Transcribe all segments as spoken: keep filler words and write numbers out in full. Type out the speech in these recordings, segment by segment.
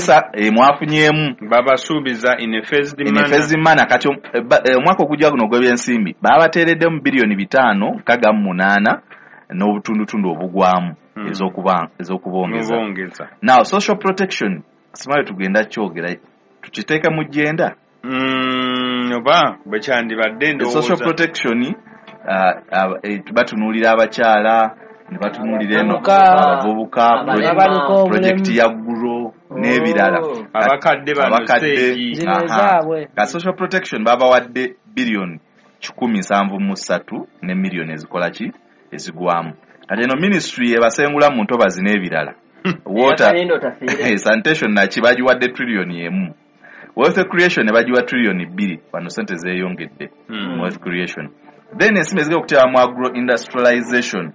Abasomesa eh, mwafunyeemu. Babasuubiza in a phased in a manner. phased manner. Kati eh, ba- eh, omwaka ogujja guno ogw'ebyensimbi babateereddemu biliyoni bitaano nkaga mu munaana n'obutundutundu obugwamu Mm. ez'okuba- ez'okubongeza. Mubongeza. Now social protection, simanyi tugenda kyogera, tukiteeka mu gender. Mm, oba bwe kyandibadde Social ndowooza. protection, uh, uh, eh, batunuulira abakyala ne batunuulira eno Abavubuka. abavubuka, Abalema. Abaliko obulemu. Project ya Guro n'ebirala. Oh. Abakadde bano. Abakadde. Stage. Zino Aha. ezaabwe. Ka social protection babawadde biliyoni kikumi nsanvu mu ssatu ne miliyoni ezikola ki, ezigwamu. Kati eno ministry ebasengula mu ntobazi n'ebirala, water Eyakalindo otafiire. sanitation naki, bagiwadde trillioni emu. Wealth creation ne bagiwa trillioni bbiri. Wano sente zeeyongedde Mm. mu wealth creation. Then ensimbi ezigenda okuteeba mu agro industrialization,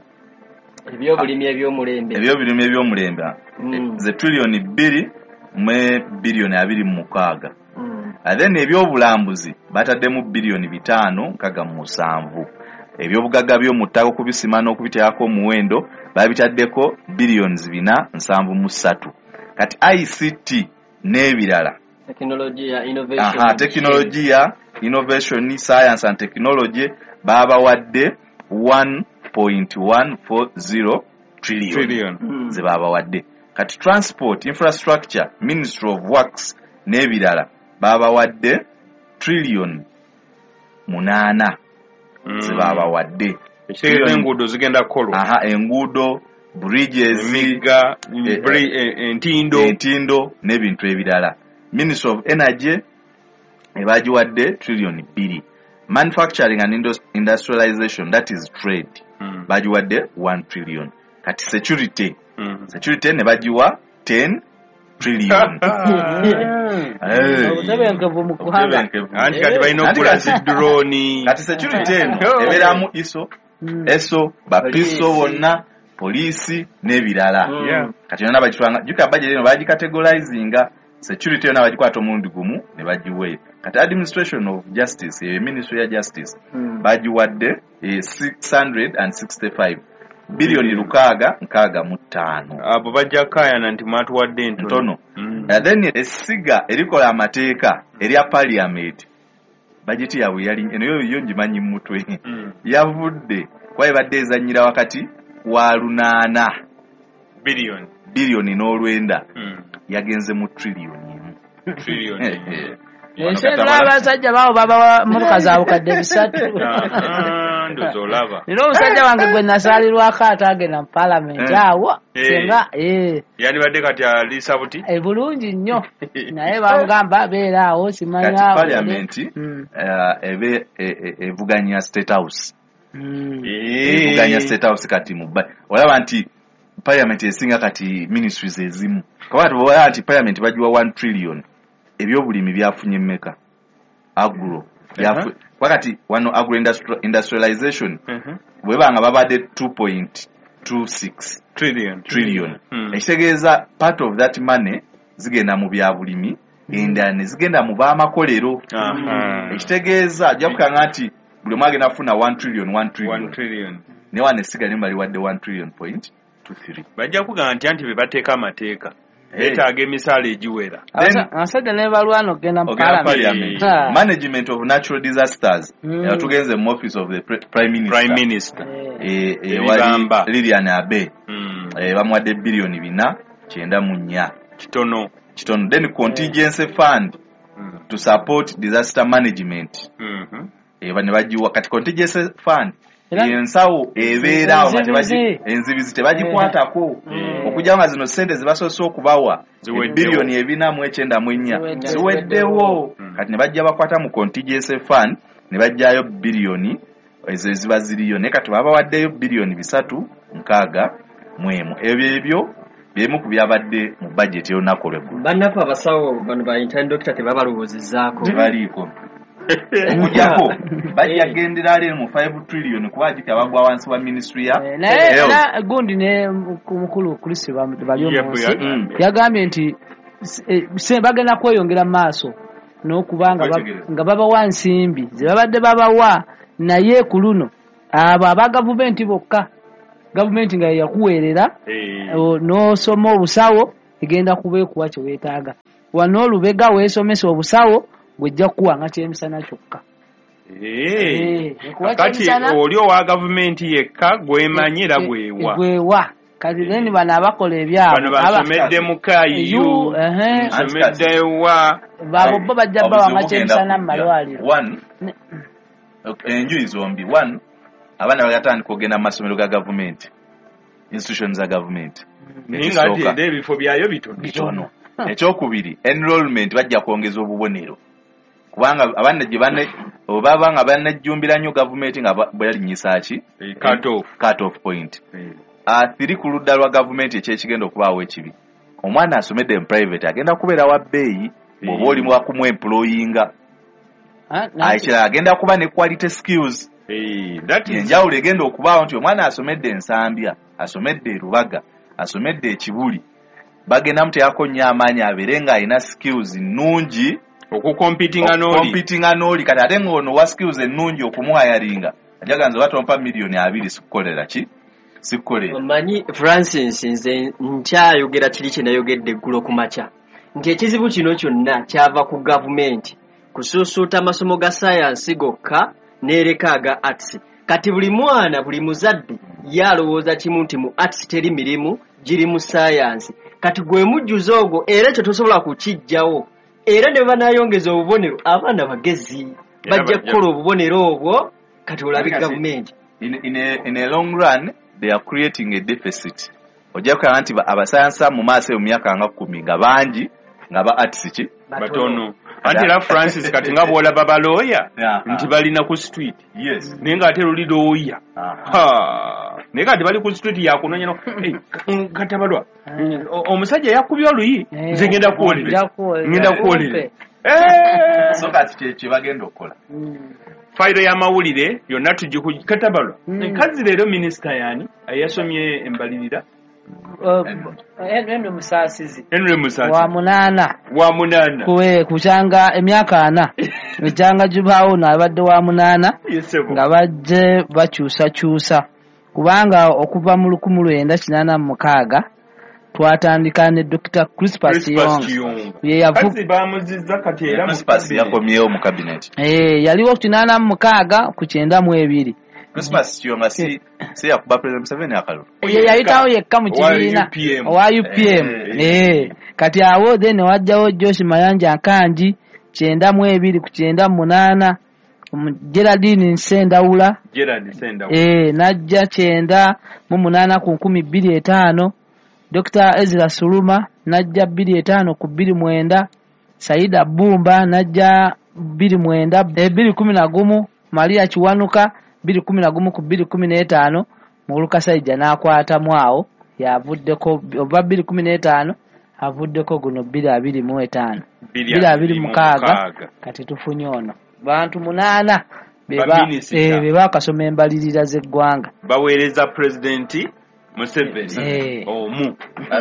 Ebyobulimi ebyomulembe. Ebyobulimi ebyomulembe, Mm. ze trillioni bbiri mu biliyoni abiri mu mukaaga. Mm. And then ebyobulambuzi bataddemu biliyoni bitaano nkaga mu musanvu. Ebyobugagga by'omu ttaka okubisima n'okubiteekako omuwendo babitaddeko biliyoni bina nsanvu mu ssatu. Kati I C T n'ebirala, Technology, innovation. Aha, tekinologiya, innovation, science and technology, babawadde one point one four zero trillion. Trillion. Mm. Ze babawadde. Kati transport infrastructure, Ministry of Works n'ebirala, babawadde trillion munaana Mm. ze babawadde. Ekitegeeza enguudo zigenda kukolwa. Aha, enguudo, bridges, emigga, eh, bri- eh, entindo. Entindo n'ebintu ebirala. Ministry of Energy ebagiwadde trillion bbiri. Manufacturing and Indus- industrialization, that is trade, Mm. bagiwadde one trillion. Kati security, Mm. security ne bagiwa ten trillion. Eh. Obutebenkevu mu ggwanga. Obutebenkevu. Anti kati balina Anti okugula kati- zi drone. Kati security eno Oh. ebeeramu I S O, Mm. eso, bapiso Poliisi. bonna, poliisi n'ebirala. Mm. Yeah. Kati yonna bagitwanga, jjuka budget eno bagicategorizinga, security yonna bagikwata omulundi gumu ne bagiweeyo. Kati administration of justice, eyo ministry ya justice, Mm. bagiwadde eh, six hundred sixty-five biliyoni lukaaga nkaaga mu ttaano. Abo bajja kukayana nti mwatuwadde entono. Ntono. Mm. And then essiga erikola amateeka erya parliament, bajeti yaabwe yali eno, yo yo ngimanyi mu mutwe, Mm. yavudde kuba ebadde ezannyira wakati wa lunaana Billion. biliyoni n'olwenda, Mm. yagenze mu triliyoni emu. Trillion. Ensi endala abasajja baabo babawa motoka za bukadde bisatu. Aha, ndowooza olaba. Nina omusajja wange gwe nasaalirwako ate agenda mu paalamenti Eh. awo Eh. senga eh, Yandibadde kati aliisa buti. eh, bulungi nnyo, naye bamugamba beera awo Kati simanya. parliament Mm. eh, ebe e- e- evuganya State House. Mm. Evuganya State House. Kati mu ba- olaba nti parliament esinga kati ministries ezimu, kuba kati olaba nti parliament bagiwa one trillion, ebyobulimi byafunye mmeka? Agro byafu- kuba kati wano agro industri- industrialization Mhm. bweba nga babadde two point two six Trillion. trillion, Mm. ekitegeeza part of that money zigenda mu byabulimi, endala ne zigenda mu baamakolero. Aha. Ekitegeeza ajja kukanga nti buli omu agenda kufuna one trillion, one One trillion. trillion. Naye wano essiga limu baliwadde one trillion point two three. Bajja kugamba nti anti be bateeka amateeka Eh. beetaaga emisaala egiwera. Then- Abasajja ne balwana okugenda mu ogenda parliament. parliament. Ah. Management of natural disasters, Mm. eh, tugenze mu office of the pre- prime minister. Prime minister. Eh. Eh, eh, wali Ebibamba. Lilian Abe, Mm. eh, bamuwadde biliyoni bina kyenda mu nnya. Kitono. Kitono. Then contingency fund Mm. to support disaster management, Mhm. eh, ne bagiwa. Kati contingency fund, Era- ensawo ebeeraawo nga tebagi- Enzibizi. Enzibizi tebagikwatako, Mm. okujja nga zino sente zebasoose okubawa, Ziweddewo. biliyoni ebina mu ekyenda mu ennya, Ziweddewo. ziweddewo. Mm. Kati ne bajja bakwata mu contingency fund ne bajjayo biliyoni ezo eziba ziriyo, naye kati babawaddeyo biliyoni bisatu nkaaga mu emu. Ebyo ebyo byemu ku byabadde mu budget y'olunaku olweggulo. Bannaffe abasawo bano ba intern doctor tebabalowoozezzaako. Tebaliiko, okujjako bajja gendera leero mu five trillion, kuba ajjukira bagwa wansi wa ministry ya Eh, naye health. era gundi ne mukulu Chris bali Yep, omunsi yagambye. yagambye nti s- eh, se- bagenda kweyongera mu maaso n'okuba nga ba- Kwetegereza. nga babawa nsimbi ze babadde babawa, naye ku luno abo aba gavumenti bokka, gavumenti nga yeyakuweerera Eh. o- n'osoma obusawo, egenda kuba ekuwa kye weetaaga. Wano Lubega weesomesa obusawo, gwejja kukuwanga kyemisana kyokka. Eh, kati oli owa gavumenti yekka gwemanyi era gwewa. Gwewa. Kati then bano abakola ebyabwe. Bano basomedde mu K U, basomedde wa. Babo bo bajja bawanga kyemisana mu malwaliro. One, enjuyi zombi. One, abaana bagatandika okugenda mu masomero ga gavumenti, institutions za gavumenti. Naye ng'ate ebifo byayo bitono. Bitono. Ekyokubiri, enrollment bajja kwongeza obubonero. Kubanga abaana gye bane oba nga banajjumbira nnyo gavumenti nga bwe ki? Cut off. Cut off point. Athiri ku ludda lwa gavumenti ekyekigenda okubaawo ekibi. Omwana asomedde mu private agenda kubeera wa bbeeyi bw'oba oli wa kumuemployinga. Ekirala agenda kuba ne quality skills. Enjawulo egenda okubaawo nti omwana asomedde Ensambya, asomedde e Rubaga, asomedde e Kibuli, bagenda muteekako nnyo amaanyi abeere ng'alina skills nnungi okukompitinga n'oli. Okukompitinga n'oli. Kati ate ng'ono wa skills ennungi okumuhayaringa ajaga nze oba tompa miliyoni abiri sikukolera ki? Sikukolera. Omanyi Francis, nze nkyayogera kiri kye nayogedde eggulo ku makya nti ekizibu kino kyonna kyava ku gavumenti kusuusuuta amasomo ga sayansi gokka n'ereka aga arts. Kati buli mwana, buli muzadde ye alowooza kimu nti mu arts teri mirimu, giri mu sayansi. Kati gwe mujjuzo ogwo era ekyo tosobola kukiggyawo. Era ne banaayongeza obubonero, abaana bagezi bajja kukola obubonero obwo. Kati olabe gavumenti in, in, a, in a long run they are creating a deficit. Ojja kulaba nti abasayansa mu maaso mu myaka nga kkumi nga bangi nga ba arts ki batono. Anti era Francis kati nga bw'olaba balooya nti balina ku street. Yes. Naye ng'ate luli looya. Naye kati bali ku street yakunoonya no katabalwa. Omusajja yakubye oluyi nze ngenda kuwolera. Ngenda kuwolera. So kati kye bagenda okukola. Fayiro y'amawulire yonna tugiku katabalwa. Kazi leero minisita yani eyasomye embalirira. Henry Musaasizi. Henry Musaasizi. Wa munaana. Wa munaana. Kuwe kukyanga emyaka ana. Ekyanga gibaawo n'abadde wa munaana. Nga bajje bakyusakyusa. Kubanga okuva mu lukumi lwenda kinaana mu mukaaga twatandika ne Dokita Crispus Kiyonga. Ye yavu Kazi bamuzizza kati era Crispus yakomyewo mu cabinet. Eh, yaliwo kinaana mu mukaaga ku kyenda mu ebiri. Crispus Kiyonga si si yakuba President Museveni akalulu. Ye yayitawo yekka mu kibiina owa U P M. Eh, kati awo then wajjawo Josh Mayanja Nkangi kyenda mu ebiri ku kyenda mu munaana. Geraldine Nsendawula. Gerald Nsendawula. Eh, najja kyenda mu munaana ku nkumi bbiri etaano. Dokita Ezra Suluma najja bbiri etaano ku bbiri mwenda. Saida Bumba najja bbiri mwenda bbiri kumi na gumu. Maria Kiwanuka bbiri kumi na gumu ku bbiri kumi n'etaano. Muluka Saija n'akwatamu awo yavuddeko oba bbiri kumi n'etaano avuddeko guno bbiri abiri mu etaano bbiri abiri mukaaga. Kati tufunye ono bantu munaana be bakasoma embalirira z'eggwanga baweereza Pulezidenti Museveni omu.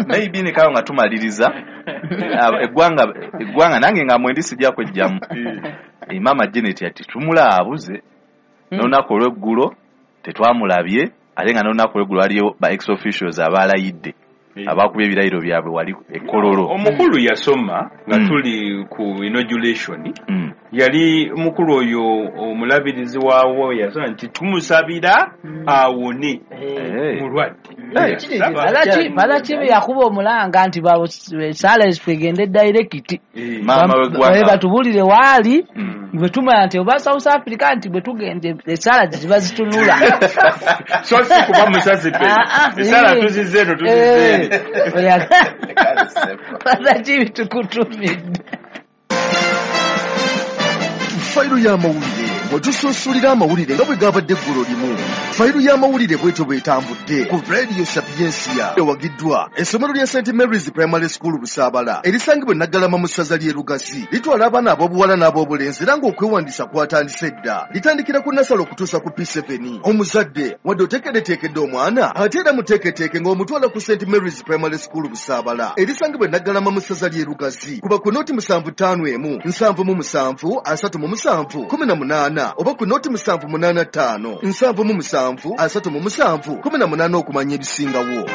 Maybe nikayo nga tumaliriza eggwanga eggwanga nange nga mwendi sijja kwejjamu. Mama Janet ati tumulaabuze n'olunaku olw'eggulo tetwamulabye ate nga n'olunaku olw'eggulo waliyo ba ex officials abalayidde abakubye ebirayiro byabwe wali e Kololo. Omukulu yasoma nga tuli ku inauguration, yali mukulu oyo omulabirizi waawo yasoma nti tumusabira awone mulwadde. Balaki yakuba omulanga nti saala twegende direct batubulire waali bwe tumanya nti oba South Africa nti bwe tugende esaala ziba zitunula. So si kuba musazi pe esaala tuzizze eno tuzizze eno. Balaki tukutumidde. Fayiro y'amawulire bwe amawulire nga bwe gabadde eggulo limu. Fayiro y'amawulire bwetyo bwetambudde ku Radio Sapiensia ewagiddwa essomero lya Saint Mary's Primary School Busaabala erisangibwa e Naggalama mu ssaza ly'e Lugazi. Litwala abaana ab'obuwala n'ab'obulenzi era ng'okwewandiisa kwatandise dda. Litandikira ku nasale okutuusa ku P seven. Omuzadde wadde oteekeddeteekedde omwana ate era muteeketeeke ng'omutwala ku Saint Mary's Primary School Busaabala erisangibwa e Naggalama mu ssaza ly'e Lugazi. Kuba ku noti musanvu ttaano emu nsanvu mu musanvu asatu mu musanvu kumi na munaana oba ku noti musanvu munaana ttaano nsanvu mu musanvu asatu mu musanvu kumi na munaana okumanya ebisingawo.